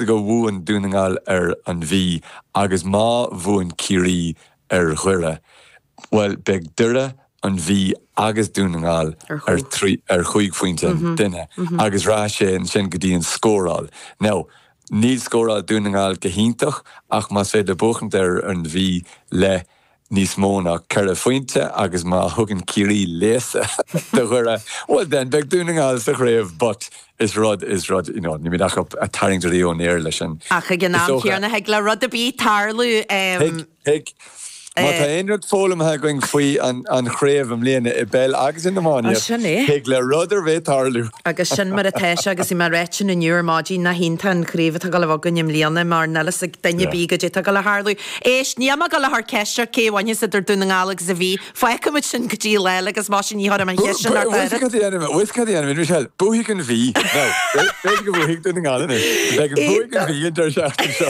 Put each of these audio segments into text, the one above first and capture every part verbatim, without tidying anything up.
go bhuann Dún na nGall ar an Mhí agus má bhuann Ciarraí ar Dhoire, well beidh Doire an Mhí agus Dún na nGall ar ar chúig phointe an duine agus rachaidh sé ansin go dtí an scóráil. Now, níl scóráil Dún na nGall go hiontach ach más féidir buachaint ar an Mhí le níos mó ná ceithre phointe agus má thugann Ciarraí léasadh do Dhoire, well then beidh Dún na nGall sa chraobh but is rud is rud you know, ní ach ag tarraingt ón aer leis an. Ach ag an am céanna thig le rud ar bith tarlú. Thig. Má tá aon rud foghlamtha againn faoi an chraobh i mbliana i bpeil agus in iománaíocht, thig le rud ar bith tarlú. Agus sin mar atá sé agus bhí mé ag ráit sin inniu ar maidin nach iontach an chraobh atá ag dul a bheith againn i mbliana mar níl fhios ag duine ar bith goidé atá ag dul a tharlú. Éist, níl mé ag dul a chur ceist ort cé a bhainfeas idir Dún na nGall agus an Mhí. Fágfaidh muid sin go dtí lá eile agus más sin ní chuirfidh mé an cheist sin ort oiread. Bhfuil cad a dhéanfaidh mé? Bhfuil cad a dhéanfaidh mé, Michelle? Buafaidh an Mhí. Now, b'fhéidir go mbuafaidh Dún na nGall anois. Beidh an buafaidh an Mhí an deireadh seachtaine seo.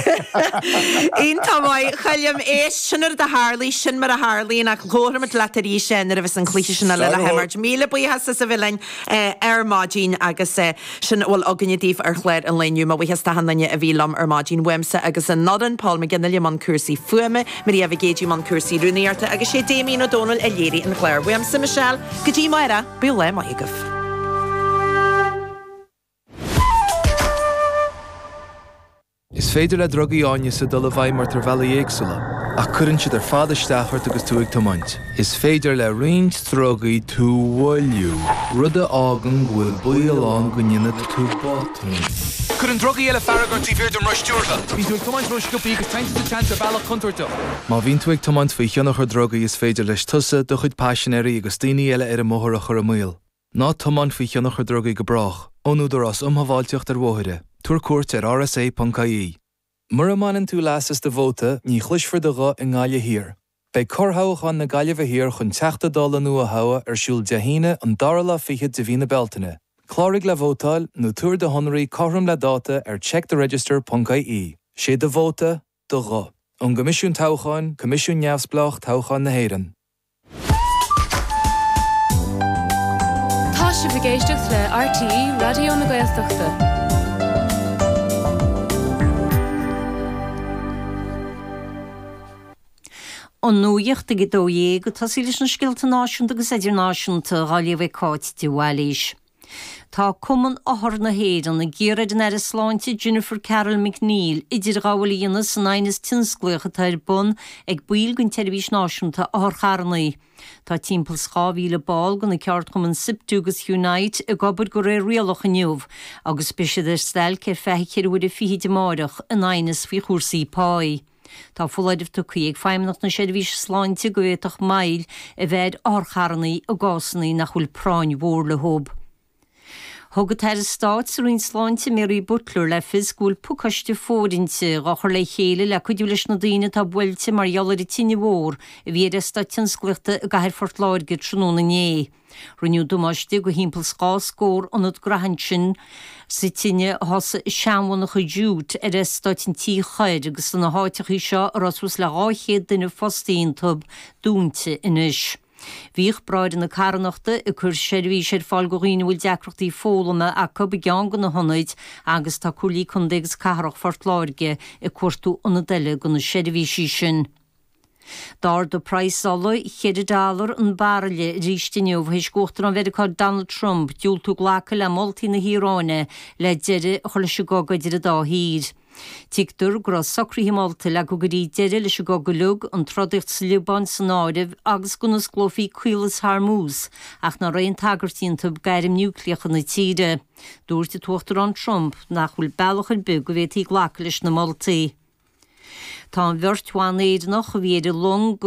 Iontach maith, a Choilm. Éist, sin rud a tharlaigh, sin mar a tharlaíonn ach labharfaimid leat arís nuair a bheas an cluiche sin eile le himirt. Míle buíochas as a bheith linn ar maidin agus sin a bhfuil againne daoibh ar chlár an lae inniu. Mo bhuíochas d'achan duine a bhí liom ar maidin uaimse agus an fhoireann, Paul McGinley i mbun cúrsaí fuaime, Maria Mhic Géidigh i mbun cúrsaí rúnaíochta agus sé Damien Ó Dónaill a léirigh an clár. Uaimse, Michelle, go dtí amárach, bíodh lá maith agaibh. Is féidir le drugaí áineasa dul i bhfeidhm ort ar bhealaí éagsúla, ach cuireann siad ar fad isteach ort agus tú ag tiomáint. Is féidir le roinnt drugaí tú a mhoilliú, rud a fhágann go bhfuil baol ann go ndéanfaidh tú botún. Cuireann drugaí eile fearg ort taobh thiar den roth stiúrtha. Bíonn tú ag tiomáint ró-sciobtha agus téann tú sa tseans ar bhealach contúirteach. Má bhíonn tú ag tiomáint faoi thionchar drugaí is féidir leis tusa, do chuid paisinéirí agus daoine eile ar an mbóthar a chur i mbaol. Ná tiomáin faoi thionchar drugaí go brách. Ón Údarás um Shábháilteacht ar Bhóithre. Tabhair cuairt ar rsa.ie. Mura mbaineann tú leas as do vóta, ní chloisfear do ghuth i nGaillimh Thiar. Beidh corrthoghchán na Gaillimhe Thiar chun Teachta Dála nua a thoghadh ar siúl Dé hAoine, an dara lá fichead de mhí na Bealtaine. Cláraigh le vótáil nó tabhair do shonraí cothrom le dáta ar checktheregister.ie. Sé do vóta, do ghuth. Ón gCoimisiún Toghcháin, Coimisiún Neamhspleách Toghcháin na hÉireann. Tá sibh ag éisteacht le RTÉ Raidió na Gaeltachta. An nuacht ag a dó dhéag, ag tosaí leis na scéalta náisiúnta agus idirnáisiúnta á léamh ag Cáit de Bhailís. Tá Cumann Othar na hÉireann ag iarraidh ar an Aire Sláinte Jennifer Carroll MacNeill idirghabháil a dhéanamh san aighneas tionsclaíoch atá ar bun ag baill den tSeirbhís Náisiúnta Otharcharranna. Tá timpeall 's dhá mhíle ball de na ceardchumainn Siptu agus Unite ag obair de réir rialach inniu agus beidh siad ar stailc ar feadh ceithre huaire fichid amáireach in aighneas faoi chúrsaí páí. Tá foláireamh tugtha ag Feidhmeannacht na Seirbhíse Sláinte go bhféadfadh moill a bheith ar otharcharranna i gcásanna nach bhfuil práinn mhór leo. Thug an tAire Stáit sa Roinn Sláinte Mary Butler le fios go bhfuil pacáiste fóirithinte á chur le chéile le cuidiú leis na daoine atá buailte mar gheall ar an tine mhór a bhí ar eastát tionsclaíochta i gcathair Phort Láirge tráthnóna inné. Rinneadh damáiste do thimpeall 's dhá scór ionad graithe ansin sa tine a thosaigh i seanmhonarcha jute ar eastát an Tí Thoir agus tá na háiteachaí seo a raibh suas le dhá chéad duine fostaithe iontu dúnta anois. Bhíodh Bráithre na Carthanachta ag cur seirbhís ar fáil do dhaoine a bhfuil deacrachtaí foghlama acu i gceann de na hionaid agus tá Comhairlí Contae agus Cathrach Phort Láirge ag cuartú ionad eile do na seirbhísí sin. D'ardaigh praghas ola cheithre dollar an bairille arís inniu théis d'Uachtarán Mheiriceá Donald Trump diúltú glacadh le moltaí na hIaráine le deireadh a chur leis an gcogadh idir an dá thír. Tuigtear go raibh socruithe molta le go gcuirfí deireadh leis an gcogadh uilig, an trodaíocht sa Liobáin san áireamh, agus go n-osclófaí Caolas Hormuz, ach nach raibh aon tagairt iontu d'airm núicléacha na tíre. Dúirt an tUachtarán Trump nach bhfuil bealach ar bith go bhféadfaí glacadh leis na moltaí. Tá an bheirt bhan Éireannach a bhí ar an long